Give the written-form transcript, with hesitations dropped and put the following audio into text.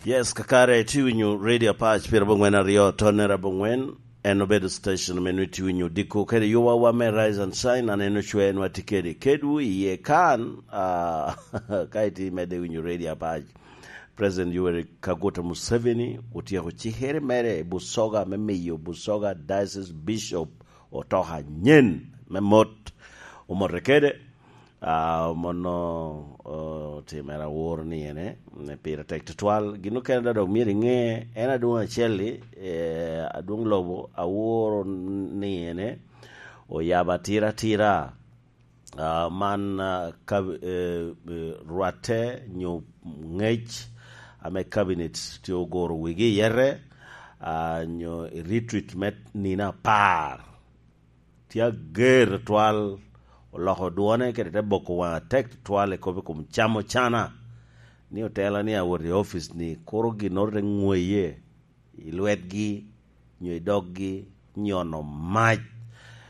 Yes, kakare itye winyo Radio Apac 92 tonne rabongwen en obedo station meno itye winyo odiko kede yuba wa me Rise and Shine aneno cwer en watye kede kedwu iye kan ah, ka itye imedde winyo Radio Apac President Yoweri Kaguta Museveni otyeko cikere mere i Busoga me miyo Busoga Diocese Bishop otoka nyen me mot omote kede Mono otimere awor ni ene pire tek tutwal. Gin mukene da dok myero inge en adwong acel-li adwong lobo aworo ni ene oyabo atir atira man ka rwatte nyo ngec ame kabinet tye oguro wigi iyete nyo i ritrit me nino apar. Tye ager twatwal, oloko dwone kede te boko wange atek twatwal i kop i kom camo cana ni otela ni awot i opic ni kuro ginoro te ngweye i lwetgi nyo i doggi nyono mac.